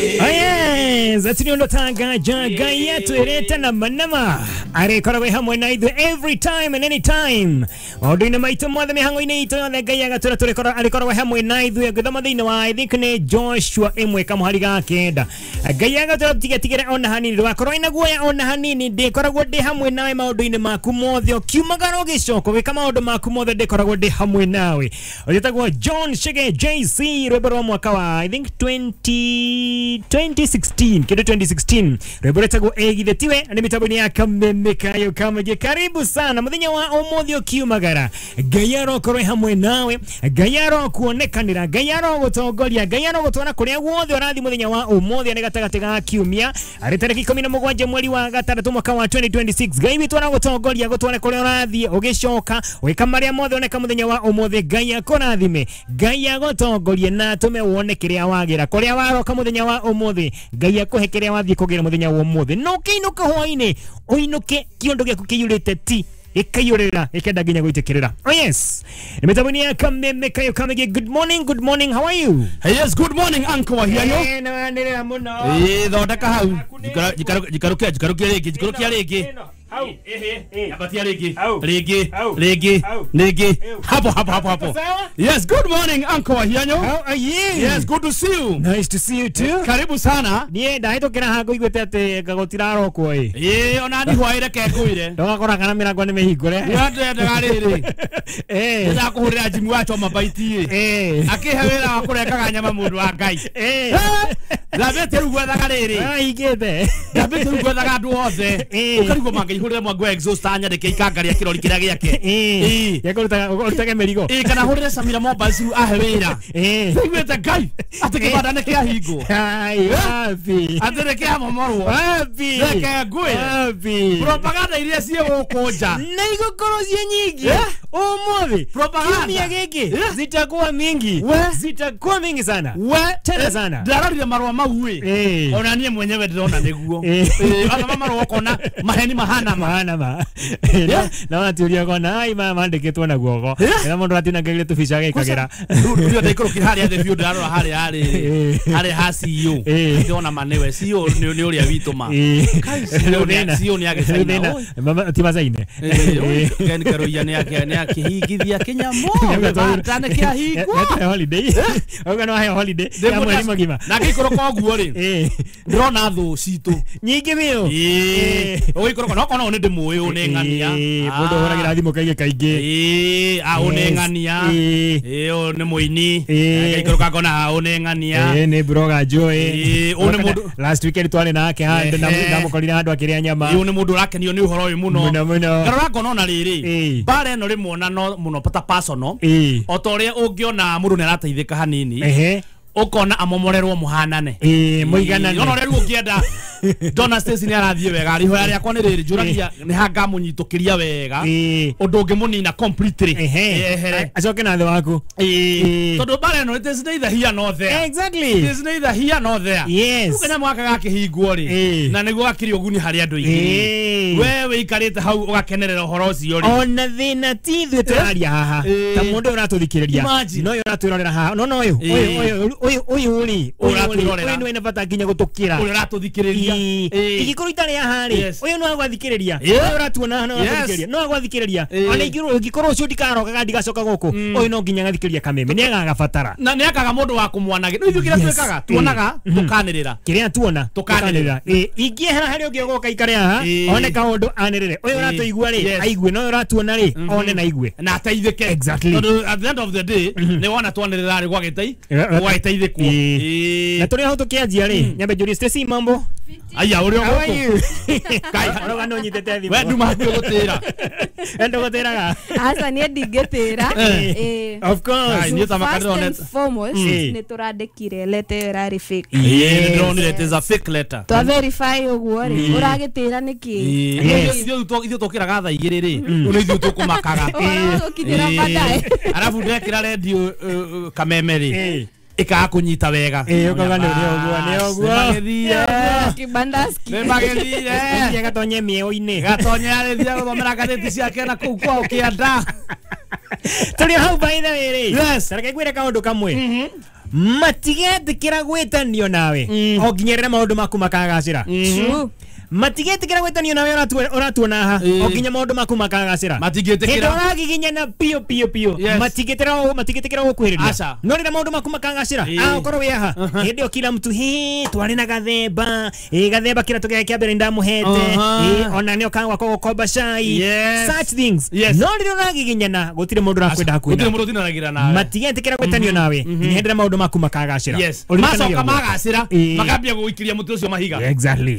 Yes, tanga yetu ireta na manama arikoragwo hamwe na ithuĩ every time and any time maũndũ-inĩ maitũ mothe mĩhang'o-inĩ itũ yothe Ngai agatũra tũrĩkorwo arikoragwo hamwe na ithuĩ. Ngĩthoma thĩinĩ wa I think nĩ Joshua 1 kamũhari ga 9, Ngai agatũra tigetigĩre ona hanini, ndũgakorwo ina guoya ona hanini, ndĩkoragwo ndĩ hamwe nawe maũndũ-inĩ maku mothe, ũkiumagara ũgĩcoka ũgĩka maũndũ maku mothe, ndĩkoragwo ndĩ hamwe nawe. Ũgĩtagwo John Chege JC, rwĩmbo rwa mwaka wa I think 2016 kĩndũ 2016, rwĩmbo rwĩtagwo Ĩgithe Tiwe. Nĩ mĩtambo-inĩ ya Kameme Kayo Kamũingĩ. Karibu sana mũthenya wa ũmũthĩ ũkiumagara, Ngai arokorwo hamwe nawe, Ngai arokuonekanĩra, Ngai arogũtongoria, Ngai arogũtwara kũrĩa guothe ũrathiĩ mũthenya wa ũmũthĩ. Nĩ gatagatĩ ga kiumia, arĩ tarĩki 17 mweri wa gatandatũ mwaka wa 2026. Ngai witũ aragũtongoria gũtware kũrĩa ũrathiĩ, ũgĩcoka ũgĩka marĩa mothe oneka mũthenya wa ũmũthĩ. Ngai akũrathime, Ngai agũtongorie na atũme wone kĩrĩa wagĩra kũrĩa waroka mũthenya wa ũmũthĩ. Ngai akũhe kĩrĩa wathiĩ kũgĩra mũthenya wa ũmũthĩ, no ũkĩinũka hwainĩ ũinũke kĩondo gĩaku kĩiyũrĩte ti gĩkaiyũrĩrĩra gĩkenda nginya gwĩtĩkĩrĩra. Oh yes, nĩ mĩtambo-inĩ ya Kameme Kayo Kamĩgĩ. Good morning, good morning, how are you? Hey, yes, good morning, Uncle Wahianyo. Eh, nĩ wanĩrĩra mũno. Eh, thondeka hau. Jikarukia, jikarukia rĩngĩ, jikarukia rĩngĩ. Hau. Ehe, ambatia rĩngĩ. Hau. Rĩngĩ, Hau. rĩngĩ, Hau. rĩngĩ. Ew. Hapo, hapo, hapo, hapo. Sawa? Yes, good morning, Uncle Wahianyo. How are you? Yes, good to see you. Nice to see you too. Karibu sana. Niĩ ndahĩtũkĩra haha ngũiguĩte atĩ gũtirarokwo ĩ. Ĩĩ, ona ni hwaĩ reke ngwĩre. Ndũgakora kana mĩrango nĩ mĩhingũre. Ndendaga rĩrĩ. Eh. Ndĩrakũhũrĩra Jimmy wa choma baiti ĩ. Eh. Akĩhe wĩra wa kũrengaga nyama mũndũ wa Ngai. Eh. Ndambĩtie rĩu gwethaga rĩrĩ. Ahingĩte. Ndambĩtie rĩu gwethaga andũ othe. Eh. Ũkarigwo mangĩihũrĩre mwangi wa exhaust anyandĩke ikanga rĩa kĩrori kĩrĩa gĩake. Eh. Ĩĩ. Gĩakũrutaga ũrutage mĩrigo. Ĩĩ, kana hũrĩre Samira Mobiles rĩu ahe wĩra. Eh. Ndaiguĩte Ngai atĩ kĩbanda nĩ kĩahingwo. Ai, wapi? Atĩ nĩ kĩamomorwo. Wapi? Reke ngwĩre. Wapi? Propaganda iria ciĩ gũkũ nja. Na igũkorwo ciĩ nyingĩ Eh? ũmũthĩ. Propaganda. Kiumia gĩkĩ Eh? zitakuwa mingi. We. Zitakuwa mingi sana. We Tena sana. Ndarorire marũa mau ĩ. Eh. Ona niĩ mwenyewe ndĩrona nĩguo. Eh. Athoma marũa ũkona maheni mahana ma. Mahana ma. Na watiũria kona ai maya mandĩkĩtwo na guoko. Eh? Na mũndũ atinangagĩria tũbica agĩkagĩra. Rĩu ndaikũrũkire harĩa thĩ biũ ndĩrarora harĩa harĩ Eh. harĩa ha CEO. Eh. Ndĩrona ma nĩwe CEO nĩ ũrĩa witũ ma. Eh. Kai, CEO nĩ CEO nĩ agĩcaina. Rĩu thĩna, mama ti macaine. Eh, Ken Karoiya nĩ akĩhingithia kĩnyamũ gĩbanda nĩ kĩahingwo. Nĩ holiday. Auga no aheo holiday ya mweri mũgima. Na ngĩikũrũka ũguo rĩ, Eh. ndĩrona thũ citũ. Nyingĩ biũ. Ĩĩ, ũgĩikũrũka no kona ũyũ nĩ ndĩmũĩ, ũyũ nĩ ng'ania. Eh, mũndũ ũhũragĩra thimũ kaingĩ kaingĩ. Ĩĩ, a ũyũ nĩ Yes. ng'ania. Ĩĩ. Ĩĩ, ũyũ nĩ mũini. Ĩĩ. Ngaikũrũka ngona ha ũyũ nĩ ng'ania. Eh, nĩ blogger njũĩ. Ĩĩ, ũyũ nĩ mũndũ- Last weekend twarĩ nake handũ na Ehe. ndamũkorire handũ akĩrĩa nyama. Ĩĩ, ũyũ nĩ mũndũ ũrakenio nĩ ũhoro ũyũ mũno. Mũno mũno. Ngarora ngona ona rĩrĩ, Ĩĩ. mbara ĩno rĩmwe ona no mũno ta personal. Ĩĩ. O ta ũrĩa ũngĩona mũndũ nĩ arateithĩka hanini, Ehe. ũkona amomorerwo mũhanane. Ĩĩ, mũiganane. Ona ũrĩa rĩu ũngĩenda Donna Stacy nĩ arathiĩ wega, ihoya rĩakwa nĩ rĩrĩ, njũragia nĩ ha ngamũnyitũkĩria wega Ĩĩ. ũndũ ũngĩmũnina completely. Ehe. Ehere. Acoke na thĩ waku. Ĩĩ. Tondũ mbara ĩno it is neither here nor there. Exactly. It is neither here nor there. Yes. Rĩu kanyamũ gaka gakĩhingwo rĩ, Ĩĩ. na nĩguo gakĩrĩ ũguni harĩ andũ aingĩ. Ĩĩ. We wĩikarĩte hau ũgakenerera ũhoro ũcio rĩ. Ona thĩna ti ithuĩ tũraria haha Ĩĩ. ta mũndũ ũyũ ũratũthikĩrĩria Imagine. no ũyũ ũratwĩrorera haha no no ũyũ Ĩĩ. ũyũ ũyũ ũyũ ũyũ rĩ ũyũ rĩ Ũratwĩrorera. ũyũ nĩ wĩna bata nginya gũtũkĩra. Ũrĩa ũratũthikĩrĩria. Ĩĩ. Ĩĩ. Ingĩkorwo itarĩ haha rĩ, Yes. ũyũ no agwathikĩrĩria, Yeah. ũyũ ũratuona haha no Yes. agwathikĩrĩria, no agwathikĩrĩria. Ĩĩ. Ona ingĩkorwo ũcio ndikarokaga ndigacoka gũkũ, ũyũ no nginya agathikĩrĩria Kameme nĩ agagabatara. Na nĩ akaga mũndũ wa kũmwanagĩra. Rĩu ithuĩ kĩrĩa Yes. twĩkaga, tuonaga tũkanĩrĩra. Kĩrĩa tuona Tũkanĩrĩra. tũkanĩrĩra. Ĩĩ, ingĩehera harĩa ũngĩ ũgoka ikare haha Ĩĩ. one kaũndũ anĩrĩre, ũyũ Ĩĩ. ũratũigua rĩ Yes. aigue, na ũyũ ũratuona rĩ one na aigue. Na ateithĩke. Exactly. Tondũ at the end of the day nĩ wona twanĩrĩra rĩ gwagĩtei Eh, gwagĩteithĩkwo. Ĩĩ. Ĩĩ. Na tũrĩ hau tũkĩanjia rĩ, nyambe njũrie Stacy, mambo? Aya ũrĩa How are gũkũ. you? Kai. Ũrauga nĩ ũnyitĩte thimũ. We nduma hakuhĩ gũtĩra. We ndũgũtĩraga. Aca, niĩ ndingĩtĩra. Ĩĩ. Of course. Ai, niĩ ta First makandĩronete. and foremost, Mm. nĩ tũrandĩkire letter ĩyo ĩrarĩ fake. Ĩĩ, nĩndĩronire it is a fake letter. Twa verify ũguo rĩ, ũragĩtĩra nĩkĩ? Ĩĩ. Yes. Ithuĩ tũkĩraga thaa 2 rĩ, rĩu nĩ ithuĩ tũkũmakaga. Ũhoro ũgũkinyĩra baadaye. Arabu ndekĩra redio Kameme rĩ, Ĩĩ. ĩkaga kũnyita wega. Ĩĩ, ũkauga nĩ ũguo, nĩ ũguo. Nĩmagĩthire. Kibandaski. Nĩmagĩthire. Athiĩ agatonye mĩeo-inĩ. Gatonya arĩthia gũthomera ngathĩti ciake na kũu kwao kĩanda. Tũrĩ hau by the way rĩ. Yes. Reke ngwĩre kaũndũ kamwe. Matigetĩkĩra gwĩtanio nawe o nginya rĩrĩa maũndũ maku makagacĩra. Matigetĩkĩra gwĩtanio nawe ũratuona haha o nginya maũndũ maku makagacĩra. Matingĩtĩkĩra. Hĩndĩ ũragiginyana biũ biũ biũ. Matingĩtĩkĩra gũkuhĩrĩria. No rĩrĩa maũndũ maku makagacĩra ũkorwo wĩ haha hĩndĩ ĩyo kila mtu twarĩ na gathemba gathemba kĩrĩa tũgĩa kĩa mbere ndamũhete ona nĩ okaga gwakwa gũkomba cai, such things. No rĩrĩa ũragiginyana gũtirĩ mũndũ ũrakwenda hakuhĩ. Gũtirĩ mũndũ ũtindanagĩra nawe. Matigĩtĩkĩra gwĩtanio nawe nginya hĩndĩ ĩrĩa maũndũ maku makagacĩra. Macoka magacĩra makambia gũikĩria mũtĩ ũcio mahiga. Exactly.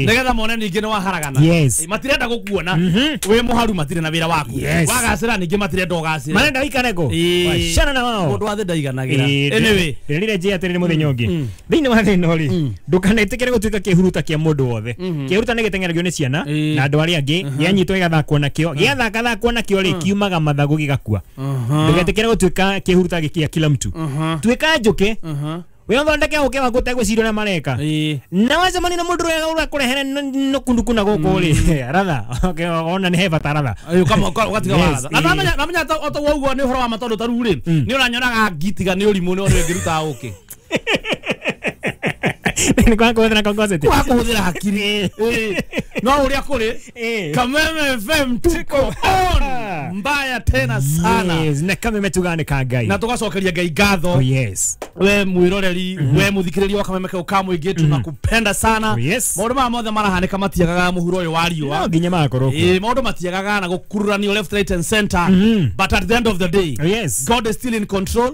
Nĩgetha mone ningĩ nĩ waharagana. Matirenda gũkuona wĩ mũharu, matirĩ na wĩra waku. Wagacĩra ningĩ matirenda ũgacĩre. Marenda ũikare kũ? Wacana na wao. Mũndũ wa thĩ ndaiganagĩra. Anyway, ndĩrire njĩe atĩrĩrĩ mũthenya ũngĩ thĩinĩ wa thĩ ĩno rĩ, ndũkanetĩkĩre gũtuĩka kĩhuruta kĩa mũndũ wothe. Kĩhuruta nĩ gĩteng'eragio nĩ ciana na andũ arĩa angĩ, gĩanyitwo gĩgathakwo nakĩo, gĩathakathakwo nakĩo rĩ, kiumaga mathagũ gĩgakua. Ndũgetĩkĩre gũtuĩka kĩhuruta gĩa kila mtu. Tuĩka njũkĩ. We ũthondeke ũkĩ waku ũtegwĩciria ũrĩa mareka. Na wacemania na mũndũ ũrĩa ũrakũrehere nũkunduku na gũkũ rĩ, ratha ona nĩ he bata ratha. Ũgatiga waratha. Na namenya o ũguo nĩ ũhoro wa ma tondũ ta rĩu rĩ, nĩ ũranyonaga ngitiga nĩ ũrimũ nĩ ũrĩa ũngĩruta ũkĩ. Nĩ kwaga kũhũthĩra kongoceti. Kwaga kũhũthĩra hakiri. No ũrĩa kũrĩ Kameme FM tuko on mbaya tena sana. Yes, na Kameme tugane ka Ngai. Na tugacokeria Ngai ngatho. Oh yes. We mwiroreri, we muthikiriria wa Kameme kau ka mũingĩ, tunakupenda sana. Maũndũ maya mothe marahanĩka matiagaga mũhuro ũyũ wa riũa. No nginya magakorwo kuo. Maũndũ matiagaga na gũkururanio left, right and center. But at the end of the day, God is still in control.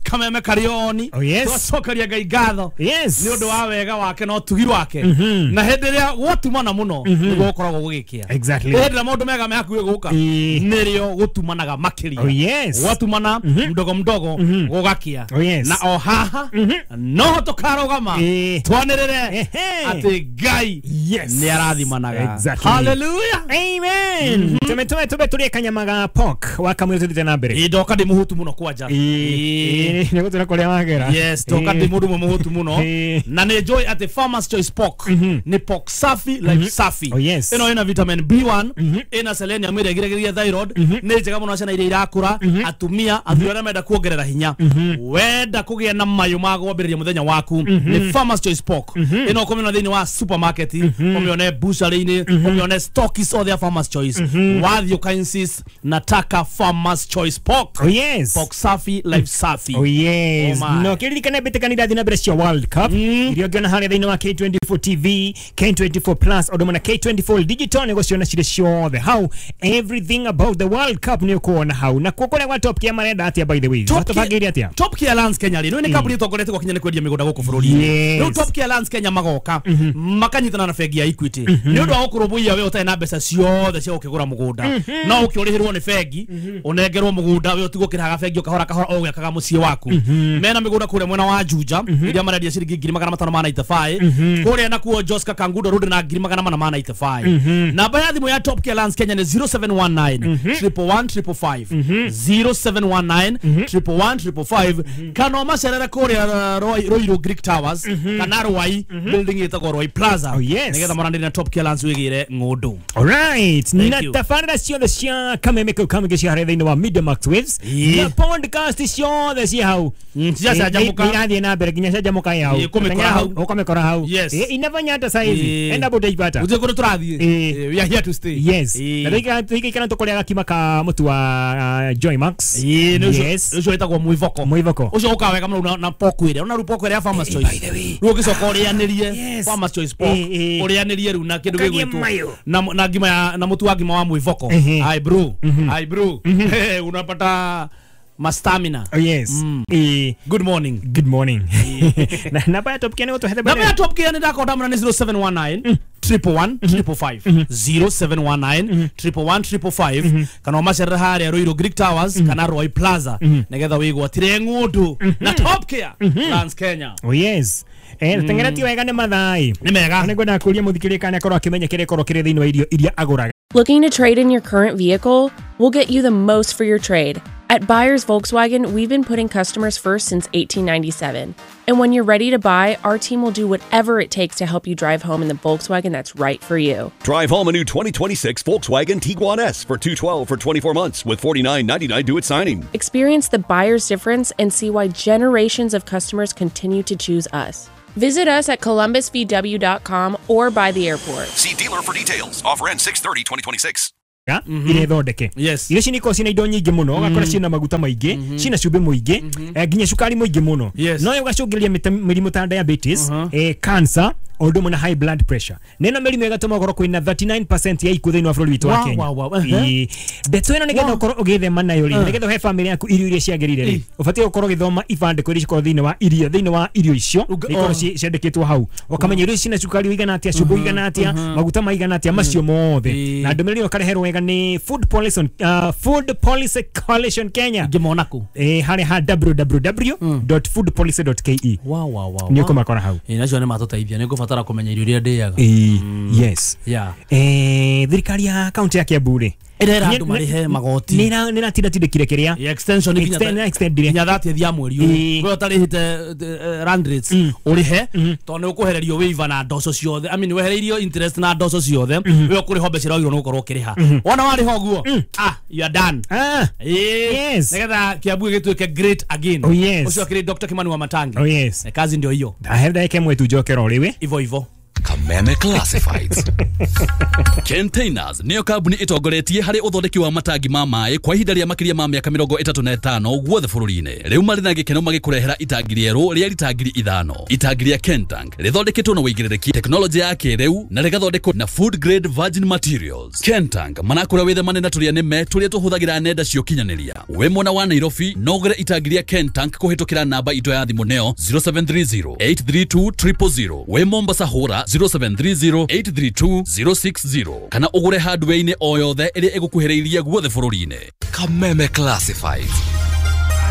Kameme karĩ oni. Tugacokeria Ngai ngatho. Yes. Nĩ ũndũ wa wega wake na ũtugi wake. Na hĩndĩ ĩrĩa gwatumana mũno nĩguo gũkoragwo gũgĩkĩa. Exactly. Hĩndĩ ĩrĩa maũndũ mega me hakuhĩ gũka nĩrĩo gũtumanaga makĩria. Oh yes. Gwatumana mdogo mdogo gũgakĩa. Oh yes. Na o haha no tũkarũgama twanĩrĩre atĩ Ngai nĩ arathimanaga. Exactly. Hallelujah. Amen. Tume tũrĩe kanyama ga pork wa kamwe tũthiĩte na mbere. Ndoka ndĩ mũhũtu mũno kwanja. Nĩ gũtũra kũrĩa wagera. Yes, ndoka ndĩ mũndũ ũmwe mũhũtu mũno. Na nĩ njũĩ atĩ Farmers Choice Pork nĩ pork safi life safi. Oh yes. Ĩno ĩna vitamin B1, ĩna selenium ĩrĩa ĩgiragĩrĩria thyroid, nĩ njega mũno ciana iria irakũra, atumia, athuri arĩa menda kuongerera hinya. Wenda kũgĩa na mayũ ma gwambĩrĩria mũthenya waku nĩ Farmers Choice Pork. Ĩno ũkũmĩona thĩinĩ wa supermarket, ũmĩone butchery-inĩ, ũmĩone stockists othe a Farmers Choice. Wathiĩ ũka insist nataka Farmers Choice Pork. Oh yes. Pork safi life safi. Oh yes. No kĩririkane mbĩtĩka nĩ irathiĩ na mbere cia World Cup iria ũngĩona harĩa thĩinĩ wa K24 TV, K24 Plus, ũndũ ũmwe na K24 Digital nĩ gũciona cirĩ ciothe hau. Everything about the World Cup nĩ ũkuona hau. Na kuo kũrĩa gwa Top Gear marenda atĩa by the way? Matũbangĩire atĩa? Top Gear Lands Kenya rĩ, nĩ kambuni ĩtongoretie gwakinya nĩ kwendia mĩgũnda gũkũ bũrũri-inĩ. Rĩu Top Gear Lands Kenya magoka makanyitana na bengi ya Equity nĩ ũndũ wa gũkũrũmbũiya we ũtarĩ na mbeca ciothe cia gũkĩgũra mũgũnda. No ũkĩũrĩhĩrwo nĩ bengi, ũnengerwo mũgũnda we ũtigwo ũkĩrĩhaga bengi o kahora kahora o ũgĩakaga mũciĩ waku. Mena mĩgũnda kũrĩa mwena wa Juja ĩrĩa marendia ciringi 595, kũrĩa nakuo Joska Kangundo Road na 495. Namba ya thimũ ya Top Gear Lands Kenya nĩ 0719 111 555, 0719 111 555, kana ũmacerere kũrĩa Ruiru Greek Towers kana Ruai building ĩtagwo Ruai Plaza. Nĩgetha moranĩrie na Top Gear Lands wĩgĩre ng'ũndũ. Alright. Na tabarĩra ciothe cia Kameme kau kamũingĩ cia harĩa thĩinĩ wa Media Max Waves na podcast ciothe ciĩ hau ciacanjamũka irathiĩ na mbere nginya canjamũka ĩ hau ũkũmĩkora hau ũkamĩkora hau. Inafanya hata saizi enda utaipata gũtirĩ kũndũ tũrathiĩ. We are here to stay. Yes. Na tũikaikara tũkũrĩa gakima ka mũtu wa Joy Max. Yes. Ũcio wĩtagwo mwĩvoko. Mwĩvoko ũcio ũkaga wega mũno na pork ĩrĩa ona rĩu pork ĩrĩa ya Farmers Choice. Rĩu ũgĩcoka ũrĩanĩrie Farmers Choice Pork ũrĩanĩrie rĩu na kĩndũ gĩgwĩtwo na ngima ya na mũtu wa ngima wa mwĩvoko. Ai bro, ai bro, unapata mastamina. Oh yes. Good morning. Good morning. Namba ya Top Gear nĩ gũtũhe. Namba ya Top Gear nĩ ndakonda mũno nĩ 0719 111 555, 0719 111 555, kana ũmacerere harĩa Ruiru Greek Towers kana Ruai Plaza nĩgetha wĩgwatĩre ng'ũndũ na Top Gear Lands Kenya. Oh yes. Teng'era ti wega nĩ mathaai. Nĩ mega. Nĩ ngwenda kũria mũthikĩrĩria kana akorwo akĩmenya kĩrĩa ĩkorwo kĩrĩ thĩinĩ wa irio iria agũraga. Looking to trade in your current vehicle? We'll get you the most for your trade. At Buyers Volkswagen, we've been putting customers first since 1897. And when you're ready to buy, our team will do whatever it takes to help you drive home in the Volkswagen that's right for you. Drive home a new 2026 Volkswagen Tiguan S for $212 for 24 months with $49.99 due at signing. Experience the buyer's difference and see why generations of customers continue to choose us. Visit us at columbusvw.com or by the airport. See dealer for details. Offer ends 6/30/2026. Iria ithondeke. Yes. Irio ici nĩ ikoragwo ciĩna indo nyingĩ mũno, ũgakora ciĩna maguta maingĩ, ciĩna cumbĩ mũingĩ, nginya cukari mũingĩ mũno. Yes. No ĩgacũngĩrĩria mĩrimũ ta diabetes, cancer, o ũndũ ũmwe na high blood pressure. Na ĩno mĩrimũ ĩgatũma ũkorwo kwĩna 39% ya ikuũ thĩinĩ wa bũrũri witũ wa Wow, Kenya. wow, wow. Ĩĩ. Ndeto ĩno nĩgetha ũkorwo ũgĩthema nayo rĩ, nĩgetha ũhe famĩlĩ yaku irio iria ciagĩrĩire rĩ, ũbatiĩ gũkorwo ũgĩthoma ibandĩko iria cikoragwo thĩinĩ wa irio, thĩinĩ wa irio icio, ikorwo ciandĩkĩtwo hau. Ũkamenya irio ici cina cukari ũigana atĩa, cumbĩ ũigana atĩa, maguta maigana atĩa, macio mothe. Ĩĩ. Na ndũmĩrĩri ĩyo ũkareherwo wega nĩ Food Policy on, Food Policy Coalition Kenya. Ngĩmona kũ? Harĩa ha www.foodpolicy.ke. Wow, wow, wow. Nĩ ũkũmakora hau. Ĩĩ, nacio nĩ matũteithia, nĩ ngũbatara kũmenya irio iria ndĩaga. Ĩĩ, yes. Yeah. Thirikari ya kaunti ya Kiambu rĩ, Ĩrera andũ marĩhe magoti. nĩ ĩratindatindĩkire kĩrĩa Yeah, extension nginya extendire. nginya 30 ya mweri Ĩĩ. ũyũ. We ũtarĩhĩte land rates ũrĩhe tondũ nĩ ũkũhererio waiver na ndoco ciothe. I mean wehereirio interest na ndoco ciothe. We ũkũrĩha mbeca iria wagĩrĩirwo nĩ gũkorwo ũkĩrĩha. Wona warĩha ũguo, ah, you are done. Ah, Ĩĩ. Yes. Nĩgetha Kiambu gĩtuĩke great again. Oh, yes. Ũcio akĩrĩ Dr. Kimani wa Matangi. Oh, yes. Kazi ndio hiyo. Ndahe ndagĩka ĩmwe tu njokera o rĩu. Ivo ivo. Kameme Classifieds. Containers nĩyo kambuni ĩtongoretie harĩ ũthondeki wa matangi ma maĩ kwa ihinda rĩa makĩria ma mĩaka 35 guothe bũrũri-inĩ. Rĩu marĩ na gĩkeno magĩkũrehera itangi rĩerũ rĩa rita 5,000. Itangi rĩa Kentank rĩthondeketwo na ũigĩrĩrĩki, tekinoronjĩ ya kĩrĩu na rĩgathondekwo na food grade virgin materials. Kentank marakũra wĩthemane na tũrĩa nĩme tũrĩa tũhũthagĩra nenda cia ũkinyanĩria. Wĩ mwena wa Nairobi no ũgũre itangi rĩa Kentank kũhĩtũkĩra namba itũ ya thimũ nĩyo 0730 832 000. Wĩ Mombasa hũra 0730 832 060 kana ũgũre hardware-inĩ o yothe ĩrĩa ĩgũkuhĩrĩirie guothe bũrũri-inĩ. Kameme Classifieds.